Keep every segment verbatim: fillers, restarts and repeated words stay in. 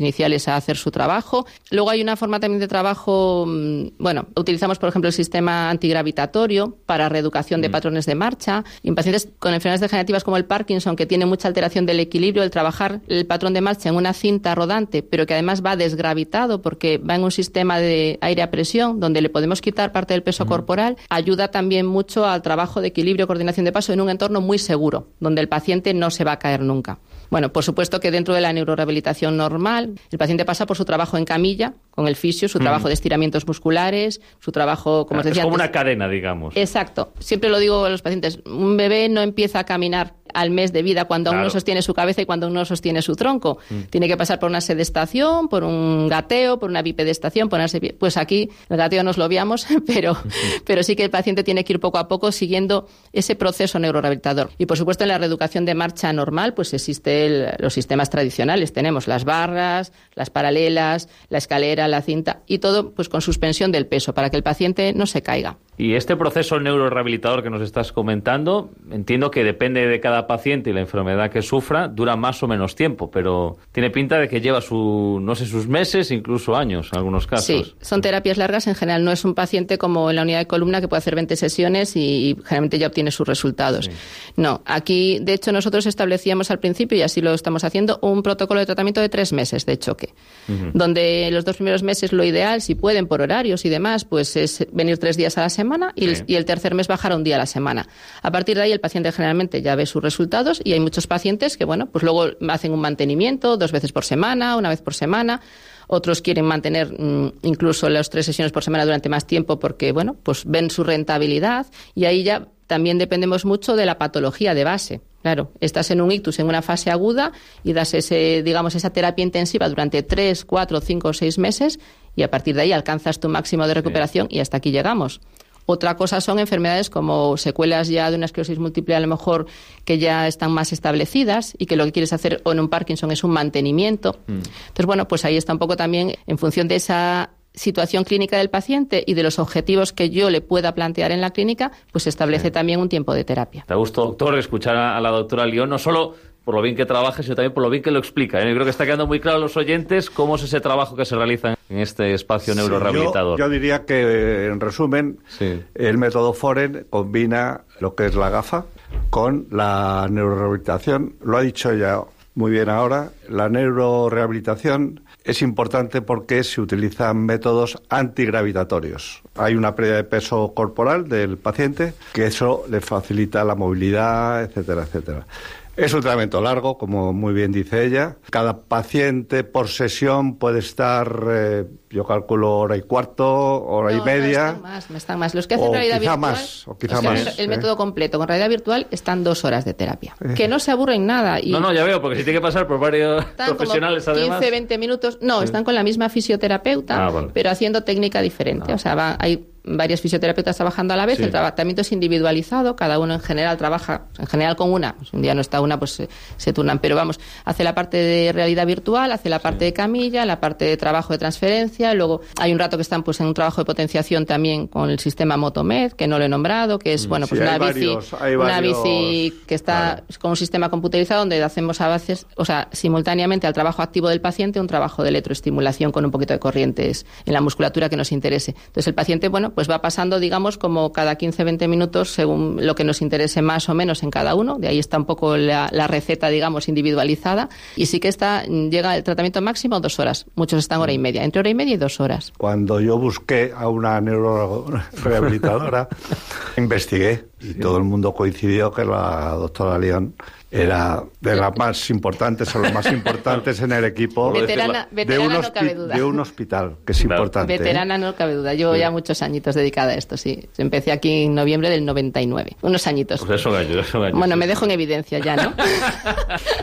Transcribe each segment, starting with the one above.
iniciales a hacer su trabajo. Luego hay una forma también de trabajo, bueno, utilizamos por ejemplo el sistema antigravitatorio para reeducación de mm. patrones de marcha. Y en pacientes con enfermedades degenerativas como el Parkinson, que tiene mucha alteración del equilibrio, el trabajar el patrón de marcha en una cinta rodante, pero que además va desgravitado porque va en un sistema de aire a presión, donde le podemos quitar parte del peso mm. corporal, ayuda también mucho al trabajo de equilibrio y coordinación de paso en un entorno muy seguro, donde el paciente no se va a caer nunca. Bueno, por supuesto que dentro de la neurorehabilitación normal, el paciente pasa por su trabajo en camilla, con el fisio, su trabajo mm. de estiramientos musculares, su trabajo, como os decía antes. Es como antes, una cadena, digamos. Exacto. Siempre lo digo a los pacientes, un bebé no empieza a caminar al mes de vida cuando claro. aún no sostiene su cabeza y cuando aún no sostiene su tronco. Mm. Tiene que pasar por una sedestación, por un gateo, por una bipedestación, ponerse pie. Pues aquí el gateo nos lo obviamos, pero, mm. pero sí que el paciente tiene que ir poco a poco siguiendo ese proceso neurorehabilitador. Y por supuesto en la reeducación de marcha normal pues existen los sistemas tradicionales. Tenemos las barras, las paralelas, la escalera, la cinta y todo pues con suspensión del peso para que el paciente no se caiga. Y este proceso neurorehabilitador que nos estás comentando, entiendo que depende de cada paciente y la enfermedad que sufra, dura más o menos tiempo, pero tiene pinta de que lleva su, no sé, sus meses, incluso años en algunos casos. Sí, son terapias largas. En general no es un paciente como en la unidad de columna que puede hacer veinte sesiones y, y generalmente ya obtiene sus resultados. Sí. No, aquí de hecho nosotros establecíamos al principio, y así lo estamos haciendo, un protocolo de tratamiento de tres meses de choque, uh-huh. donde los dos primeros meses lo ideal, si pueden por horarios y demás, pues es venir tres días a la semana y, sí. el, y el tercer mes bajar a un día a la semana. A partir de ahí el paciente generalmente ya ve sus resultados y hay muchos pacientes que, bueno, pues luego hacen un mantenimiento dos veces por semana, una vez por semana. Otros quieren mantener mmm, incluso las tres sesiones por semana durante más tiempo porque, bueno, pues ven su rentabilidad y ahí ya también dependemos mucho de la patología de base. Claro, estás en un ictus en una fase aguda y das ese, digamos, esa terapia intensiva durante tres, cuatro, cinco o seis meses y a partir de ahí alcanzas tu máximo de recuperación sí. y hasta aquí llegamos. Otra cosa son enfermedades como secuelas ya de una esclerosis múltiple, a lo mejor que ya están más establecidas y que lo que quieres hacer o en un Parkinson es un mantenimiento. Mm. Entonces, bueno, pues ahí está un poco también en función de esa situación clínica del paciente y de los objetivos que yo le pueda plantear en la clínica, pues se establece sí. también un tiempo de terapia. Te gusta, doctor, escuchar a la doctora León, no solo por lo bien que trabaja, sino también por lo bien que lo explica. ¿eh? Yo creo que está quedando muy claro a los oyentes cómo es ese trabajo que se realiza en este espacio sí, neurorehabilitador. Yo, yo diría que, en resumen, sí. el método Foren combina lo que es la gafa con la neurorehabilitación. Lo ha dicho ella muy bien ahora. La neurorehabilitación es importante porque se utilizan métodos antigravitatorios. Hay una pérdida de peso corporal del paciente que eso le facilita la movilidad, etcétera, etcétera. Es un tratamiento largo, como muy bien dice ella. Cada paciente por sesión puede estar, eh, yo calculo, hora y cuarto, hora no, y media. No, están más, están más. Los que hacen realidad quizá virtual, más, o quizá o sea, más. El, el ¿eh? método completo con realidad virtual están dos horas de terapia. Eh. Que no se aburren nada. Y no, no, ya veo, porque si tiene que pasar por varios están profesionales como además. quince, veinte minutos. No, sí. están con la misma fisioterapeuta, ah, vale. pero haciendo técnica diferente. No. O sea, va, hay varios fisioterapeutas trabajando a la vez, sí. el tratamiento es individualizado, cada uno en general trabaja, en general con una, pues un día no está una, pues se, se turnan, pero vamos, hace la parte de realidad virtual, hace la parte sí. de camilla, la parte de trabajo de transferencia, luego hay un rato que están pues en un trabajo de potenciación también con el sistema Motomed, que no lo he nombrado, que es, bueno, pues sí, una bici, varios, una bici que está vale. con un sistema computerizado donde hacemos a veces, o sea, simultáneamente al trabajo activo del paciente, un trabajo de electroestimulación con un poquito de corrientes en la musculatura que nos interese. Entonces el paciente, bueno, pues va pasando, digamos, como cada quince a veinte minutos según lo que nos interese más o menos en cada uno. De ahí está un poco la, la receta, digamos, individualizada. Y sí que está, llega el tratamiento máximo dos horas. Muchos están hora y media, entre hora y media y dos horas. Cuando yo busqué a una neurorehabilitadora, investigué y sí. todo el mundo coincidió que la doctora León era de las más importantes o las más importantes en el equipo veterana, de, veterana un no hospi- cabe duda. de un hospital, que es claro. importante. Veterana ¿eh? no cabe duda. Llevo sí. ya muchos añitos dedicada a esto, sí. Empecé aquí en noviembre del noventa y nueve. Unos añitos. Pues eso gallo, eso gallo. Bueno, me dejo en evidencia ya, ¿no?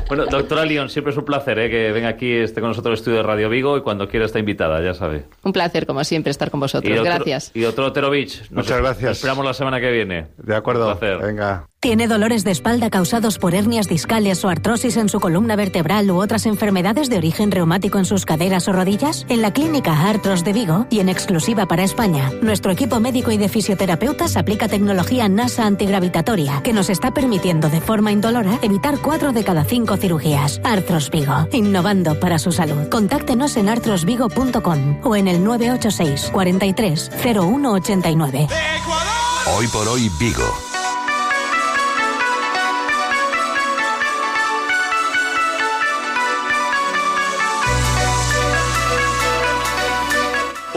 Bueno, doctora León, siempre es un placer ¿eh? que venga aquí esté con nosotros el estudio de Radio Vigo y cuando quiera está invitada, ya sabe. Un placer, como siempre, estar con vosotros. Y doctor, gracias. Y doctor Oterovich, muchas gracias. Esperamos la semana que viene. De acuerdo. acuerdo. Un placer. Venga. ¿Tiene dolores de espalda causados por hernias discales o artrosis en su columna vertebral u otras enfermedades de origen reumático en sus caderas o rodillas? En la Clínica Artros de Vigo, y en exclusiva para España, nuestro equipo médico y de fisioterapeutas aplica tecnología NASA antigravitatoria que nos está permitiendo de forma indolora evitar cuatro de cada cinco cirugías. Artros Vigo, innovando para su salud. Contáctenos en artros vigo punto com o en el nueve ocho seis, cuarenta y tres, cero uno ochenta y nueve. Hoy por hoy Vigo.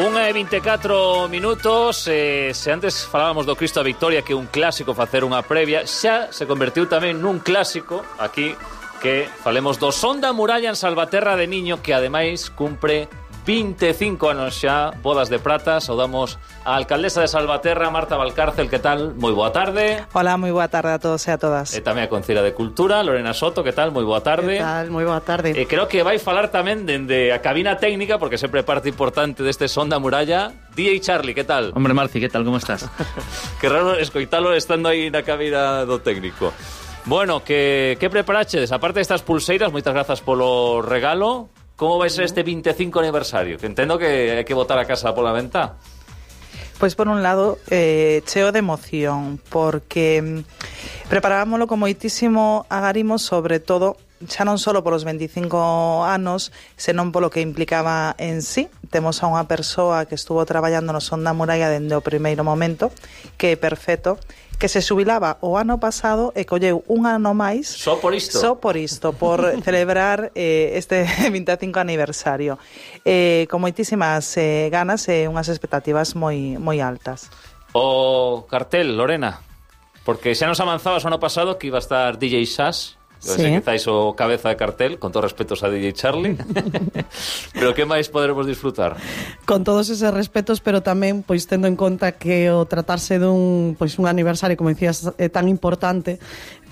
unha e vinte e catro minutos, eh, se antes falábamos do Cristo da Victoria, que é un clásico facer unha previa, xa se convertiu tamén nun clásico aquí que falemos do Son da Muralla en Salvaterra de Miño, que ademais cumpre vinte e cinco anos xa, bodas de prata. Saudamos a alcaldesa de Salvaterra, Marta Valcárcel, que tal? Moi boa tarde. Hola, moi boa tarde a todos e a todas. E tamén a Concelleira de Cultura, Lorena Soto, que tal? Moi boa tarde. Que tal? Moi boa tarde. E creo que vai falar tamén dende a cabina técnica, porque sempre parte importante deste Son da Muralla, D J Charlie, que tal? Hombre, Marci, que tal? Como estás? Que raro escoitalo estando aí na cabina do técnico. Bueno, que, que preparachedes? Aparte destas pulseiras, moitas grazas polo regalo. Como vai ser este vinte e cinco aniversario? Que entendo que hai que botar a casa pola ventá. Pois por un lado, eh, cheo de emoción, porque preparábamoslo con moitísimo agarimo, sobre todo, xa non só polos veinticinco anos, senón polo que implicaba en sí. Temos a unha persoa que estuvo traballando no Son da Muralla dende o primeiro momento, que é perfecto, que se xubilaba o ano pasado e colleu un ano máis só por isto só por isto, por celebrar eh, este vinte e cinco aniversario, eh, con moitísimas eh, ganas e unhas expectativas moi moi altas. O cartel, Lorena, porque xa nos avanzabas o ano pasado que iba a estar D J Sass. Sí. Quizáis o cabeza de cartel, con todos respetos a D J Charlie. Pero que máis poderemos disfrutar? Con todos eses respetos, pero tamén pois tendo en conta que o tratarse dun pois un aniversario, como dicías, é tan importante,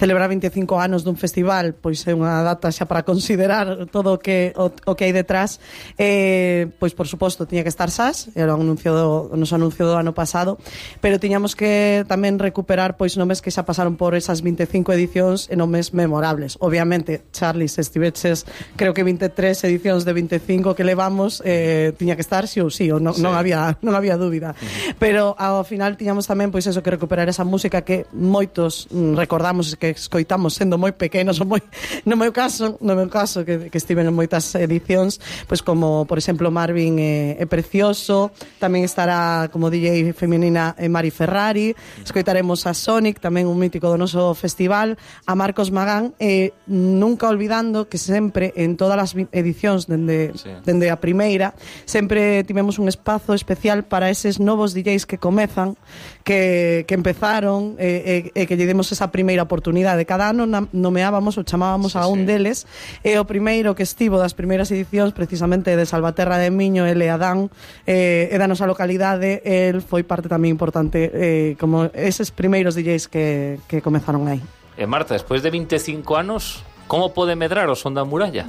celebrar vinte e cinco anos dun festival, pois é unha data xa para considerar todo o que o, o que hai detrás. Eh, pois por suposto tiña que estar Sass, era o anuncio do, nos anuncio do ano pasado, pero tiñamos que tamén recuperar pois nomes que xa pasaron por esas vinte e cinco edicións e nomes memorables. Obviamente, Charlie, se estiveches creo que vinte e tres edicións de vinte e cinco que levamos, eh, tiña que estar sí ou sí, ou non, sí. non había non había dúbida. Uh-huh. Pero ao final tiñamos tamén pois eso, que recuperar esa música que moitos mm, recordamos que escoitamos sendo moi pequenos, ou moi no meu caso, no meu caso que, que estiven en moitas edicións, pois como por exemplo Marvin é, é precioso, tamén estará como D J feminina Mari Ferrari, escoitaremos a Sonic, tamén un mítico do noso festival, a Marcos Magán, e nunca olvidando que sempre en todas as edicións dende, sí. dende a primeira sempre tivemos un espazo especial para eses novos D Js que comezan, que, que empezaron e, e, e que lle demos esa primeira oportunidade. Cada ano nomeábamos ou chamábamos sí, a un sí. deles, e o primeiro que estivo das primeiras edicións precisamente de Salvaterra de Miño, ele Adán, eh, e da nosa localidade, el foi parte tamén importante eh, como eses primeiros D Js que, que comezaron aí. E Marta, despois de vinte e cinco anos, como pode medrar o Son da Muralla?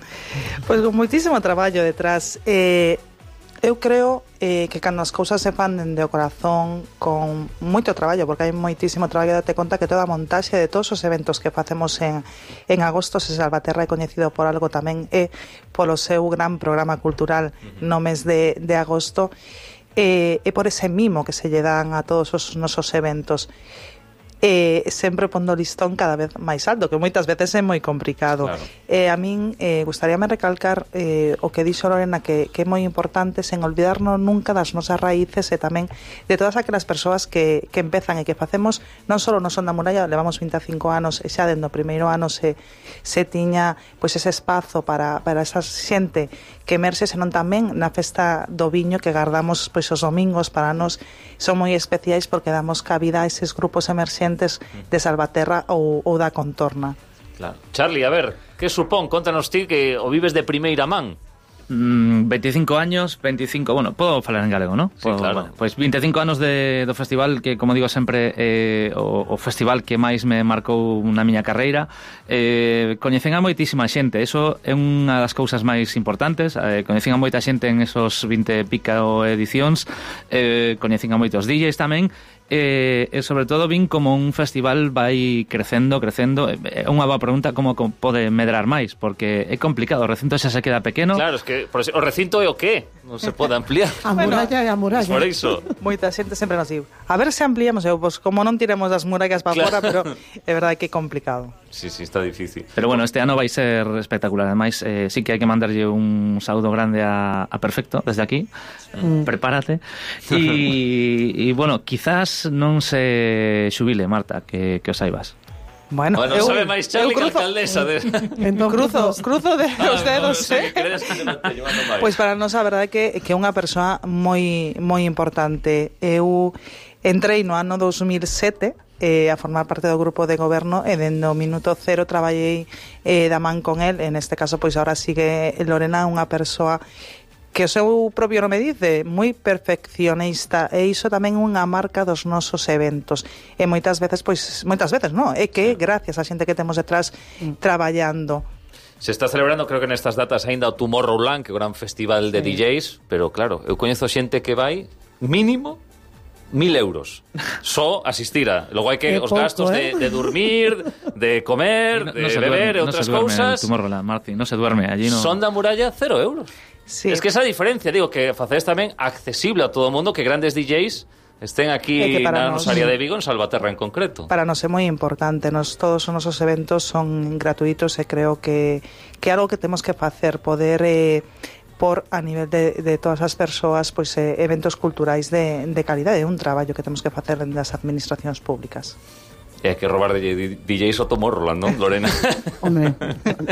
Pois con moitísimo traballo detrás. Eh, eu creo eh, que cando as cousas se fan dende o corazón, con moito traballo, porque hai moitísimo traballo, date conta que toda a montaxe de todos os eventos que facemos en, en agosto, se Salvaterra é coñecido por algo tamén é polo seu gran programa cultural no mes de, de agosto, e, e por ese mimo que se lle dan a todos os nosos eventos. E sempre pondo o listón cada vez máis alto, que moitas veces é moi complicado. Claro. E a min eh, gustaríame recalcar eh, o que dixo Lorena, que, que é moi importante, sen olvidarnos nunca das nosas raíces e tamén de todas aquelas persoas que, que empezan e que facemos non só no Son da Muralla, levamos vinte e cinco anos e xa dentro do primeiro ano se, se tiña pois ese espazo para, para esa xente que emerxe, senón tamén na festa do viño que guardamos pois os domingos. Para nós son moi especiais porque damos cabida a eses grupos emerxentes de Salvaterra ou, ou da contorna. Claro. Charlie, a ver, que supón? Contanos ti que o vives de primeira man. Mm, veinticinco años, veinticinco, bueno, podo falar en galego, ¿no? Sí, podo, claro. Bueno, pois vinte e cinco anos de, do festival que, como digo sempre, eh, o, o festival que máis me marcou na miña carreira. Eh, coñecen a moitísima xente, eso é unha das cousas máis importantes. Eh, coñecen a moita xente en esos vinte e pica edicións, eh, coñecen a moitos D Js tamén, e, e sobre todo vin como un festival vai crecendo, crecendo. É unha boa pregunta como pode medrar máis, porque é complicado, o recinto xa se queda pequeno. Claro, es que por eso, o recinto é o qué? Non se pode ampliar. A muralla é a muralla. Por iso. Moita xente sempre nos diu, a ver se ampliamos, eu, pues, como non tiremos as murallas para Claro. fora, pero é verdade que é complicado. Sí, sí, está difícil. Pero bueno, este ano vai ser espectacular. Ademais, eh, sí que hai que mandarlle un saúdo grande a, a Perfecto desde aquí. Mm. Prepárate. E, e bueno, quizás non se xubile, Marta, que, que os saibas. Bueno, Bueno, eu, sabe máis Charlie que a cruzo, alcaldesa de... Entón, cruzo, cruzo de Ah, os dedos, no, no, eh? que crees que non te llevando máis. Pois para nós a verdade é que, que é unha persoa moi moi importante. Eu entrei no ano dos mil sete eh, a formar parte do grupo de goberno e dende o minuto cero traballei eh, da man con el. En este caso, pois agora sigue Lorena, unha persoa que o seu propio nome dice, moi perfeccionista, e iso tamén é unha marca dos nosos eventos. E moitas veces, pois, moitas veces, non, é que gracias á xente que temos detrás mm. traballando. Se está celebrando, creo que nestas datas aínda o Tomorrowland, que é o gran festival de sí. D Js, pero claro, eu coñezo xente que vai mínimo mil euros só asistir a. Logo hai que Qué os poco, gastos eh? de, de dormir, de comer, No, de no se beber e duerme, outras no se duerme cousas. en Tomorrowland, Marci, no se duerme allí, no. Son da muralla cero euros. Sí. Es que esa diferencia, digo, que facedes tamén accesible a todo o mundo, que grandes D Js estén aquí É que para na nos- nosa área de Vigo, en Salvaterra en concreto. Para nós é moi importante, nos, todos os nosos eventos son gratuitos e creo que, que é algo que temos que facer, poder eh, por a nivel de, de todas as persoas, pois eh, eventos culturais de, de calidade, é un traballo que temos que facer dentro das administracións públicas. E hai que robar de D Js o Tomorrowland, non, Lorena? Hombre,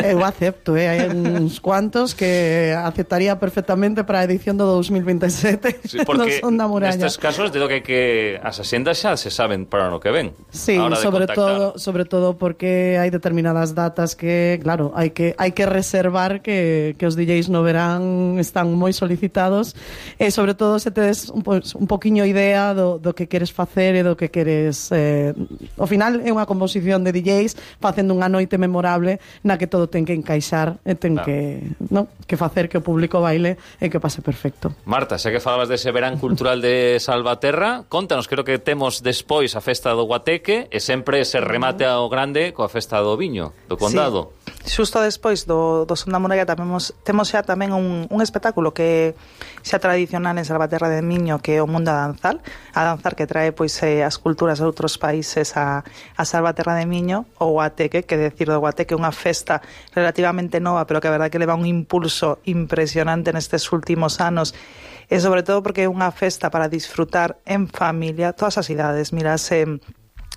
eu acepto, eh? hai uns cuantos que aceptaría perfectamente para a edición do dos mil veintisiete. Sí, porque no son da muralla. nestes casos, digo que, que as asendas xa se saben para o que ven. Sí, a hora de sobre contactar. todo, sobre todo porque hai determinadas datas que, claro, hai que hai que reservar que, que os D Js no verán están moi solicitados e sobre todo se tedes un, pues, un poquiño idea do, do que queres facer e do que queres eh, ao final é unha composición de D Js facendo unha noite memorable na que todo ten que encaixar e ten Claro. que, no, que facer que o público baile e que pase perfecto. Marta, xa que falabas dese verán cultural de Salvaterra, contanos, creo que temos despois a festa do Guateque e sempre se remate ao grande coa festa do Viño, do Condado. Sí. Xusto despois do, do Son da Muralla tamemos, temos xa tamén un, un espectáculo que xa tradicional en Salvaterra de Miño, que é o Mundo a Danzar, a danzar que trae pois eh, as culturas de outros países a, a Salvaterra de Miño, o Guateque, que decir do Guateque é unha festa relativamente nova, pero que a verdade que leva un impulso impresionante nestes últimos anos, e sobre todo porque é unha festa para disfrutar en familia, todas as idades, mirase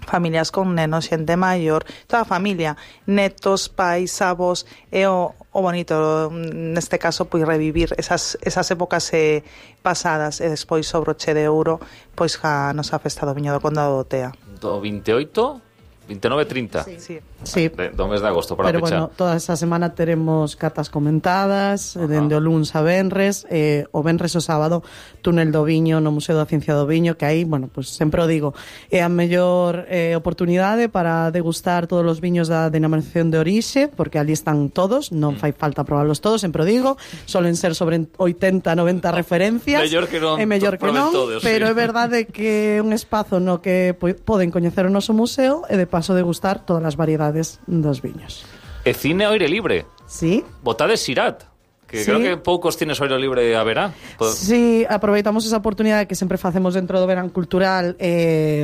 familias con nenos, xente maior, toda a familia, netos, pais, avós, e o, o bonito neste caso pois revivir esas, esas épocas eh, pasadas e despois sobre o che de ouro pois a nosa festa do Viño do Condado do Tea. Do veintioito, veintinueve, trinta. Sí, sí. Sí. De, do mes de agosto para Pero pechar. bueno, toda esa semana teremos catas comentadas, Ajá. dende o luns a venres, eh, o venres o sábado, túnel do Viño no Museo da Ciencia do Viño, que aí, bueno, pues sempre o digo, é a mellor eh, oportunidade para degustar todos os viños da denominación de orixe, porque ali están todos, non fai falta probarlos todos, sempre o digo, solen ser sobre oitenta, noventa referencias, Mellor que non é mellor que proben non, todos, pero sí. é verdade que é un espazo no que po- poden coñecer o noso museo e de paso degustar todas as variedades dos viños. E cine ao aire libre. Sí. Botades Sirat, que Sí. creo que poucos tienes ao aire libre haberá. Po- Sí, aproveitamos esa oportunidade que sempre facemos dentro do verán cultural, eh,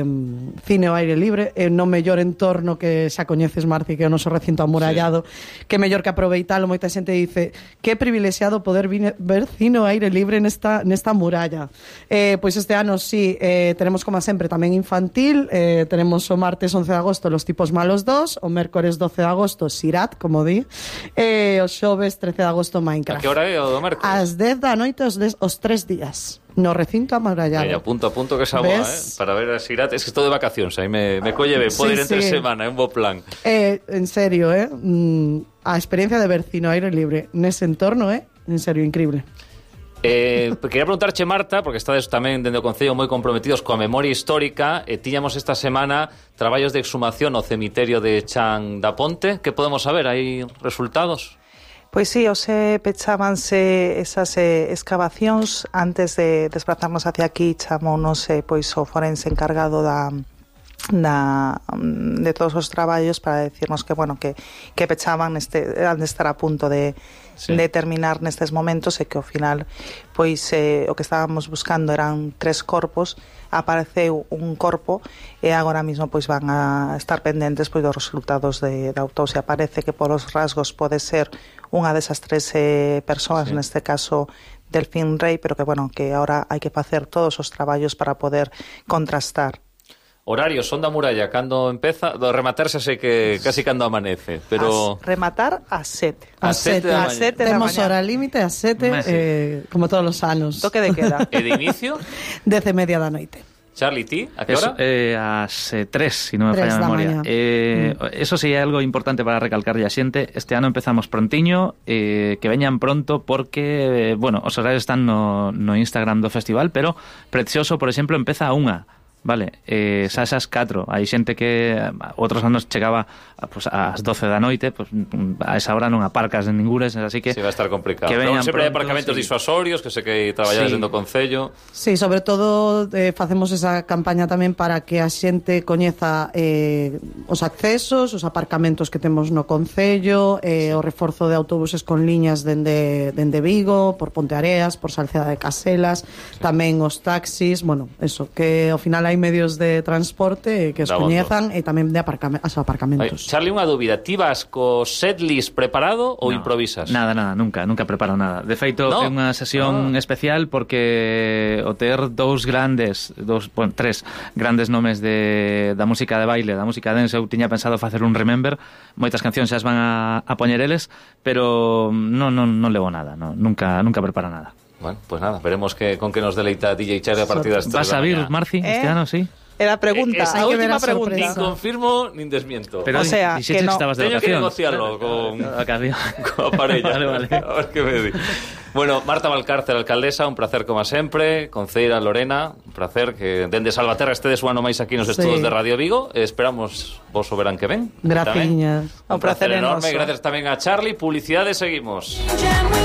cine ao aire libre, e no mellor entorno que xa coñeces, Marci, que é o noso recinto amurallado, sí. Que mellor que aproveitalo. Moita xente dice que privilexiado poder vine, ver cine ao aire libre nesta, nesta muralla. Eh, pois este ano, sí, eh, tenemos como sempre tamén infantil, eh, tenemos o martes once de agosto Los tipos malos dos, o mércores doce de agosto Sirat, como di, e o xoves trece de agosto Minecraft. A que hora é o do mércoles? Ás dez da noite os, des, os tres días no recinto amurallado. Veña, punto a punto que esa boa, eh? ¿Ves? Para ver a Sirat. Es que estou de vacacións, aí me, me colle ben. Podo Sí, ir entre sí. semana, é un bo plan. Eh, en serio, eh? Mm, a experiencia de ver cine ao aire libre nese entorno, eh? En serio, increíble. Eh, quería preguntarche, Marta, porque estades tamén dende o Concello moi comprometidos coa memoria histórica, e tiñamos esta semana traballos de exhumación ao cemiterio de Chan da Ponte. Que podemos saber? Hai resultados? Pois sí, hoxe pechábanse esas eh, excavacións. Antes de desplazarnos hacia aquí, chamounos eh, pois o forense encargado da Da, de todos os traballos para decirnos que, bueno, que, que pechaban neste, han de estar a punto de, sí. de terminar nestes momentos e que ao final pois eh, o que estábamos buscando eran tres corpos, apareceu un corpo e agora mismo pois van a estar pendentes pois dos resultados de, da autopsia. Parece que por os rasgos pode ser unha desas tres eh, persoas, sí. neste caso Delfín Rey, pero que, bueno, que ahora hai que facer todos os traballos para poder contrastar. Horario, son da muralla, cando empeza, do rematarse sei que casi cando amanece, pero... As, rematar a sete. A sete, a sete da mañá. Temos hora límite a sete, eh, como todos os anos. Toque de queda. E de inicio? Dez e media da noite. Charlie, ti? A que hora? Eh, ás eh, tres, si non me falla a memoria. Eh, mm. Eso sí é algo importante para recalcarlle a xente. Este ano empezamos prontiño, eh, que veñan pronto porque, eh, bueno, os horarios están no, no Instagram do festival, pero Precioso, por exemplo, empeza a unha. Vale, eh, xa esas catro. Hai xente que outros anos chegaba pues, ás doce da noite, pues, a esa hora non aparcas en ningures, así que... Sí, va a estar complicado. Que veñan sempre hai aparcamentos sí. disuasorios, que sei que traballades sí. dentro do Concello. Sí, sobre todo eh, facemos esa campaña tamén para que a xente coñeza eh, os accesos, os aparcamentos que temos no Concello, eh, o reforzo de autobuses con liñas dende, dende Vigo, por Ponteareas, por Salceda de Caselas, sí. tamén os taxis, bueno, eso, que ao final hai medios de transporte que os coñezan e tamén de aparcame os aparcamentos. Ay, Charlie, unha dúbida, ti vas co setlist preparado ou no, improvisas? Nada, nada, nunca, nunca preparo nada. De feito, no. é unha sesión ah. especial porque o ter dous grandes, dous, bueno, tres grandes nomes de, da música de baile, da música dance, eu tiña pensado facer un remember, moitas cancións xa as van a, a poñer eles, pero non, non, non levo nada, no, nunca, nunca preparo nada. Bueno, pues nada, veremos que, con que nos deleita D J Charlie a partir das tres ¿Vas a vir, Marci, ¿Eh? este ano, sí? Era pregunta, eh, a última pregunta. Nin confirmo, nin desmiento. Pero o sea, que, que no. estabas de Teño que vacacións. negociarlo con, con a parella. Vale, vale. A ver que me di. Bueno, Marta Valcárcel, alcaldesa, un placer como sempre. Conceira Lorena, un placer que dende Salvaterra estedes un ano máis aquí nos estudos sí. de Radio Vigo. Esperamos vos o verán que ven. Graciñas. Un, un placer enorme. Gracias tamén a Charlie. Publicidade, seguimos.